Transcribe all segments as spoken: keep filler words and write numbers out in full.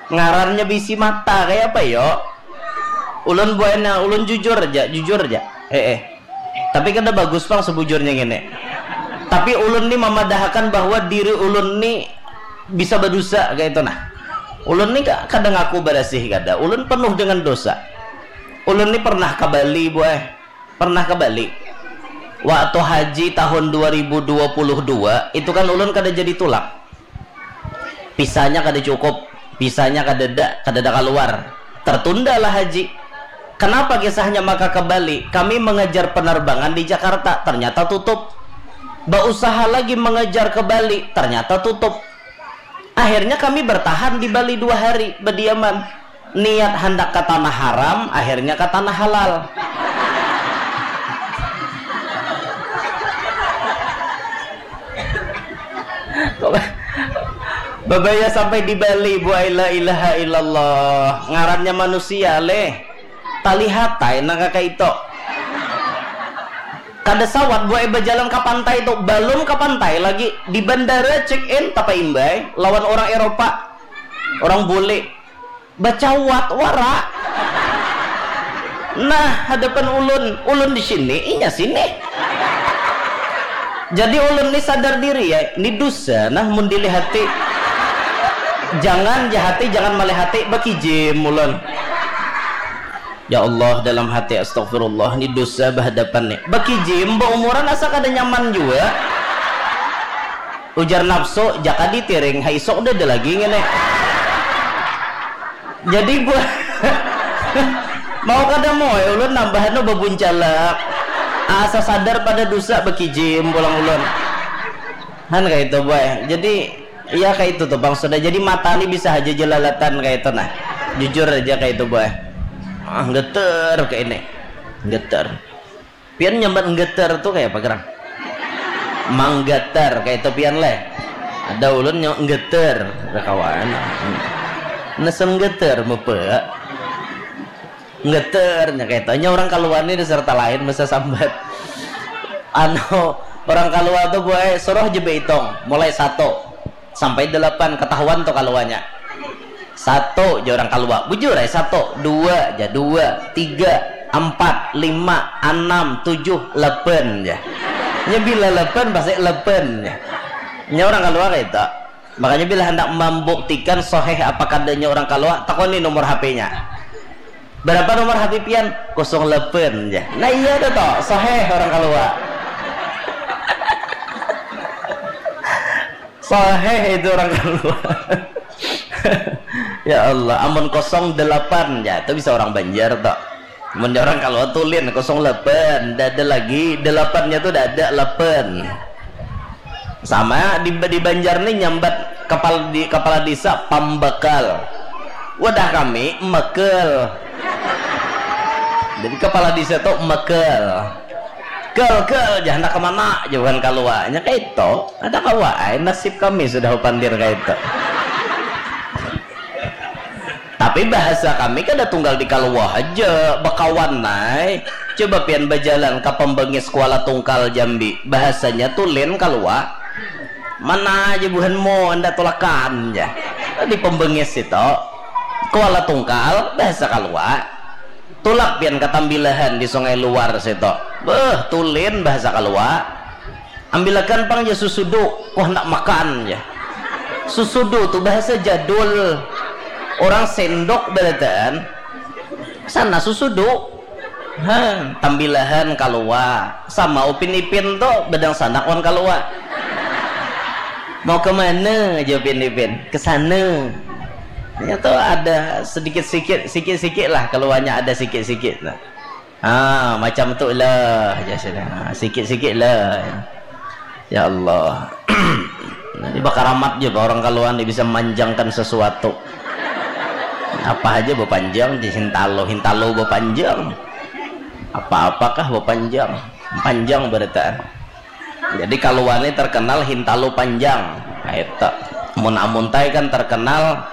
Ngarannya bisi mata kayak apa yo? Ulun buahnya, ulun jujur aja, jujur aja. Eh, eh. Tapi kada bagus pang sebujurnya ngene. Tapi ulun ni mamadahakan bahwa diri ulun ni bisa berdosa kayak itu nah. Ulun ni ka- kada ngaku barasih kada. Ulun penuh dengan dosa. Ulun ni pernah ke Bali, buah. Pernah ke Bali. Waktu haji tahun dua ribu dua puluh dua, itu kan ulun kada jadi tulak. Pisanya kada cukup, pisanya kadada, kadada keluar. Tertundalah haji. Kenapa kisahnya maka ke Bali? Kami mengejar penerbangan di Jakarta, ternyata tutup. Berusaha lagi mengejar ke Bali, ternyata tutup. Akhirnya kami bertahan di Bali dua hari, berdiaman. Niat hendak ke tanah haram, akhirnya ke tanah halal. Babaya sampai di Bali, buai la ilaha illallah. Ngarannya manusia leh. Talihat tai nang kaka itu. Kada sawat buai berjalan ke pantai itu, belum ke pantai lagi. Di bandara check in, tapa imbai, lawan orang Eropa. Orang bule. Bacawat wara. Nah, hadapan ulun, ulun di sini, inya sini. Jadi ulun ni sadar diri ya, ni dosa nah mun dilihati. Jangan jahati, jangan malihati, bakijim ulun. Ya Allah, dalam hati, astagfirullah, ni dosa bahadapan ni. Bakijim, baumuran asa kada nyaman jua. Ujar nafsu, jaka ditiring, ha isuk udah ada lagi ngene. Jadi buah mau kada mau ya ulun nambahan nu babuncalak. Asa sadar pada dosa bakijim pulang ulun. Han kayak itu buah. Jadi iya kayak itu tuh bang sudah. Jadi mata ni bisa aja jelalatan kayak itu nah. Jujur aja kayak itu buah. Ah geter kayak ini. Geter. Pian nyambat nggeter tu kaya apa gerang? Manggatar kaya itu pian leh. Ada ulun nyambat nggeter, kada kawan. Nasa nggeter mupa. Nggeter nya kaya itu. Nya orang kaluar ni dasar talain masa sambat. Anu, orang kaluar tu buai suruh ja baitung mulai satu sampai delapan ketahuan tu kaluarnya. Satu ja orang kalua. Bujur ai satu, dua ja, dua, tiga, ampat, lima, anam, tujuh, lapan ja. Nya bila lapan pasti lapan ja. Nya orang kalua kaitu. Makanya bila handak mambuktikan soheh apa kadanya orang kalua, takoni nomor H P-nya. Berapa nomor H P pian? Kosong lapan ja. Nah iya tu toh, soheh orang kalua. Sahih itu orang kalua. Ya Allah, amun kosong delapan ya, itu bisa orang Banjar toh. Amun orang kalua tulin kosong delapan, ndak ada lagi delapannya tu, ndak ada lapan. Sama di, di Banjar ni nyambat kepala di kepala desa pambakal. Wadah kami mekel. Jadi kepala desa tu mekel. Kel, kel, jar handak ke mana? Jar buhan kalua. Nya kaitu, kada kawa ai, nasib kami sudah bapandir kaitu. Tapi bahasa kami kada tunggal di kalua haja, bakawan ai. Coba pian bajalan ka Pembengis Kuala Tungkal Jambi, bahasanya tulin kalua. Mana aja buhanmu, anda tulakan ja. Di Pembengis itu, Kuala Tungkal, bahasa kalua. Tulak pian ka Tambilahan di Sungai Luar situ. Beuh, tulin bahasa kalua. Ambilakan pang ja susudu, ku handak makan ja. Susudu tu bahasa jadul. Orang sendok barataan. Sana susudu. Ha, Tambilahan kalua. Sama Upin Ipin tu badangsanak wan kalua. Mau ke mana? Jar Upin Ipin. Ke sana. Nya tu ada sedikit-sikit, sikit-sikit lah kaluanya ada sikit-sikit. Nah. Ah, macam tu lah, jar sudah. Ah, sikit-sikit lah. Ya Allah. Jadi bakaramat ja orang kalua ni bisa manjangkan sesuatu. Apa aja bapanjang, di hintalo, hintalo bapanjang. Apa-apakah bapanjang. Panjang barataan. Jadi kalua ni terkenal hintalo panjang. Nah, itu. Mun Amuntai kan terkenal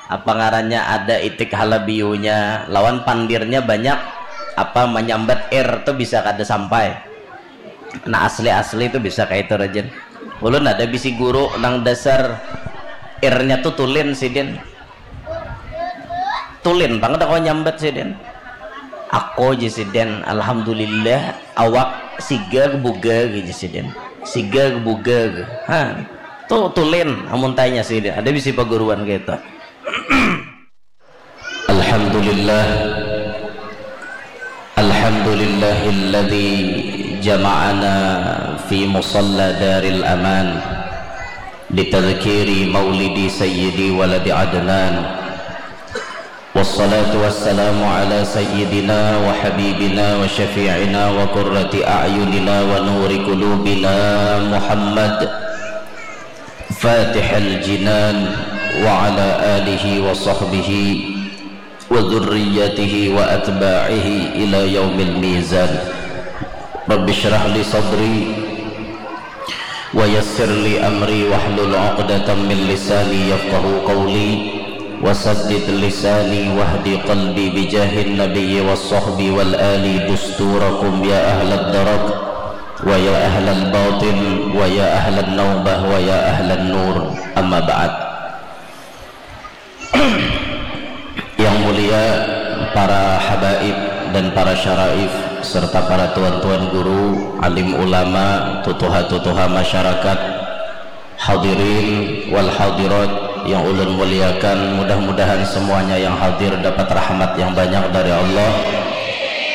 apa ngarannya, ada itik halabiunya, lawan pandirnya banyak apa menyambat ir tu bisa kada sampai. Nah, asli-asli tu bisa kaitu rajin. Ulun ada bisi guru nang dasar irnya tu tulin sidin. Ulin pang kada kawa nyambat sidin. Aku ja sidin, alhamdulillah, awak siga buga ja sidin. Siga buga. Ha. Tu tulin amun tanya sidin. Ada bisi paguruan kaitu. Alhamdulillah. Alhamdulillahilladzi jama'ana fi musalla daril aman. Litadzkiri maulidi sayyidi waladi Adnan. Wassalatu wassalamu ala sayyidina wa habibina wa syafi'ina wa qurrati a'yunina wa nuri qulubina Muhammad Fatihil Jinan wa ala alihi wa sahbihi wa dzurriyyatihi wa atba'ihi ila yaumil mizan. Rabbi shrah li sadri wa yassir li amri wahlul 'uqdatam min lisani yafqahu qawli. Wasaddid lisani wahdi qalbi bijahin nabiyyi was sahbi wal ali dusturakum ya ahlad darak wa ya ahlal batin wa ya ahlan naubah wa ya ahlan nur. Amma ba'd. Yang mulia para habaib dan para syaraif serta para tuan-tuan guru, alim ulama, tutuha-tutuha masyarakat, hadirin wal hadirat yang ulun muliakan, mudah-mudahan semuanya yang hadir dapat rahmat yang banyak dari Allah,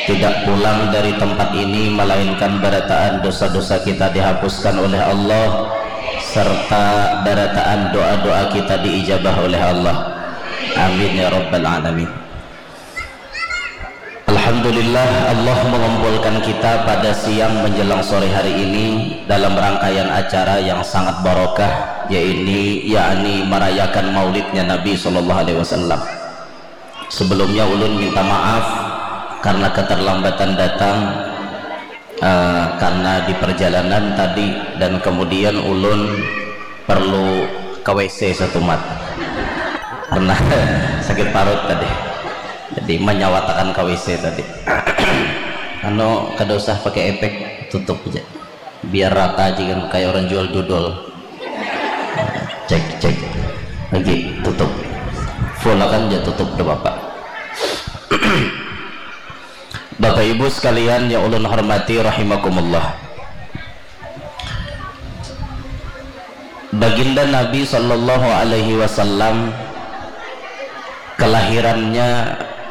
tidak pulang dari tempat ini melainkan barataan dosa-dosa kita dihapuskan oleh Allah serta barataan doa-doa kita diijabah oleh Allah. Amin ya rabbal alamin. Alhamdulillah, Allah mengumpulkan kita pada siang menjelang sore hari ini dalam rangkaian acara yang sangat barokah, yaitu yakni merayakan maulidnya Nabi Sallallahu Alaihi Wasallam. Sebelumnya ulun minta maaf karena keterlambatan datang, eh, karena di perjalanan tadi, dan kemudian ulun perlu ke W C satumat karena sakit parut tadi. Jadi menyawatakan ke W C tadi. Anu, kada usah pakai efek, tutup aja. Biar rata aja kan, kayak orang jual dodol. Cek, cek. Lagi tutup. Full akan aja tutup, udah Bapak. Bapak Ibu sekalian yang ulun hormati rahimakumullah. Baginda Nabi Sallallahu Alaihi Wasallam, kelahirannya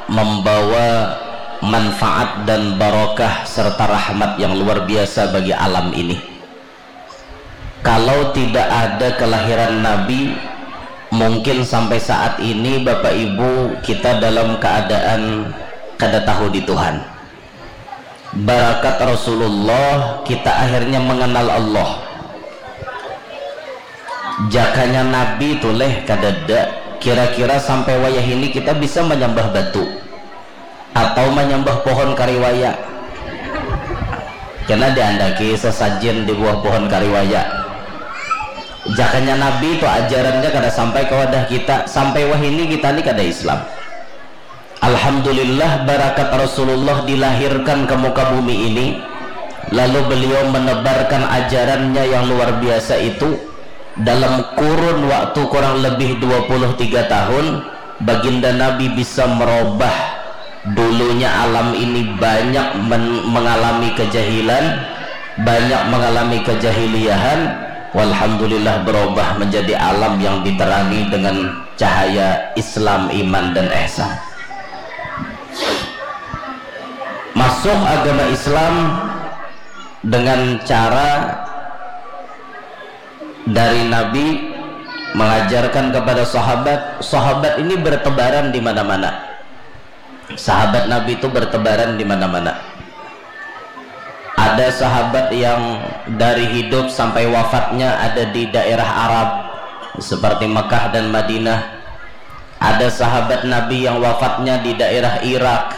membawa manfaat dan barokah serta rahmat yang luar biasa bagi alam ini. Kalau tidak ada kelahiran Nabi, mungkin sampai saat ini Bapak Ibu kita dalam keadaan kada tahu di Tuhan. Barakat Rasulullah kita akhirnya mengenal Allah. Jakanya Nabi tu leh kadada, kira-kira sampai wayah ini kita bisa menyembah batu atau menyembah pohon kariwaya? Kena diandaki sesajen di buah pohon kariwaya. Jakanya Nabi tu ajarannya kada sampai ke wadah kita, sampai wahini kita ni kada Islam. Alhamdulillah, barakat Rasulullah dilahirkan ke muka bumi ini, lalu beliau menebarkan ajarannya yang luar biasa itu dalam kurun waktu kurang lebih dua puluh tiga tahun. Baginda Nabi bisa merubah dulunya alam ini banyak men- mengalami kejahilan, banyak mengalami kejahiliahan. Walhamdulillah, berubah menjadi alam yang diterangi dengan cahaya Islam, iman, dan ihsan. Masuk agama Islam dengan cara dari Nabi mengajarkan kepada sahabat. Sahabat ini bertebaran di mana-mana. Sahabat Nabi itu bertebaran di mana-mana. Ada sahabat yang dari hidup sampai wafatnya ada di daerah Arab, seperti Mekah dan Madinah. Ada sahabat Nabi yang wafatnya di daerah Irak,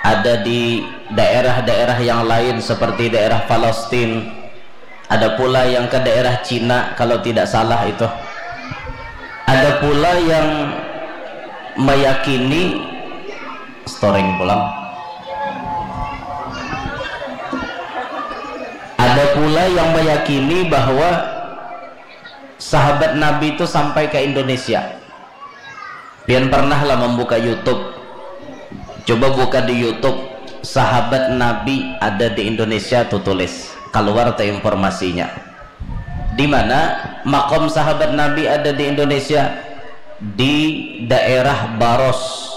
ada di daerah-daerah yang lain seperti daerah Palestina, ada pula yang ke daerah Cina kalau tidak salah itu. Ada pula yang meyakini, storing pulang. Ada pula yang meyakini bahwa sahabat Nabi itu sampai ke Indonesia. Pian pernah lah membuka YouTube? Coba buka di YouTube, sahabat Nabi ada di Indonesia tuh tulis, keluar tuh informasinya. Di mana makom sahabat Nabi ada di Indonesia? Di daerah Baros,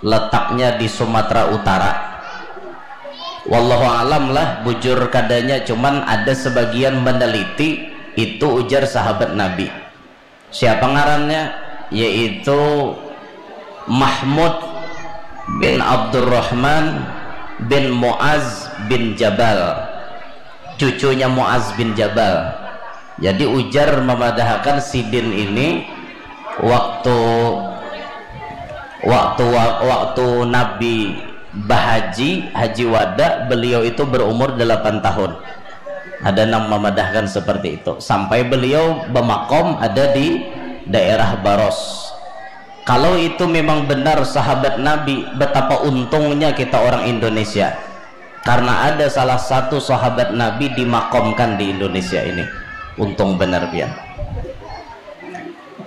letaknya di Sumatera Utara. Wallahu alam lah, bujur kadanya, cuman ada sebagian meneliti itu ujar sahabat Nabi. Siapa ngarannya? Yaitu Mahmud bin Abdurrahman bin Muaz bin Jabal, cucunya Muaz bin Jabal. Jadi ujar memadahakan sidin ini waktu waktu waktu Nabi bahaji, haji wada, beliau itu berumur delapan tahun. Ada nang memadahkan seperti itu. Sampai beliau bemakom ada di daerah Baros. Kalau itu memang benar sahabat Nabi, betapa untungnya kita orang Indonesia. Karena ada salah satu sahabat Nabi dimakomkan di Indonesia ini. Untung benar pian.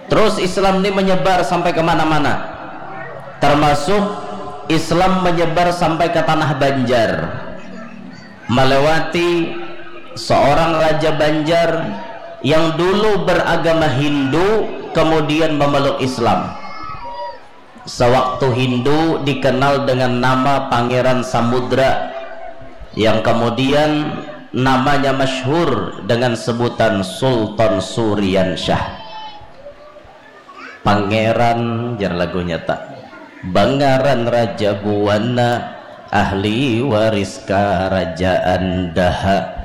Terus Islam ini menyebar sampai kemana-mana. Termasuk Islam menyebar sampai ke tanah Banjar. Melewati seorang raja Banjar yang dulu beragama Hindu, kemudian memeluk Islam. Sewaktu Hindu dikenal dengan nama Pangeran Samudra, yang kemudian namanya masyhur dengan sebutan Sultan Suriansyah. Pangeran, jar lagunya tak, bangaran Raja Buana, ahli waris karajaan daha.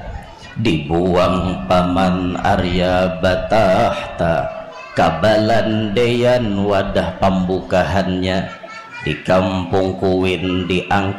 Dibuang paman Arya Batahta, kabalandean wadah pambukahannya, di kampung Kuin diangkat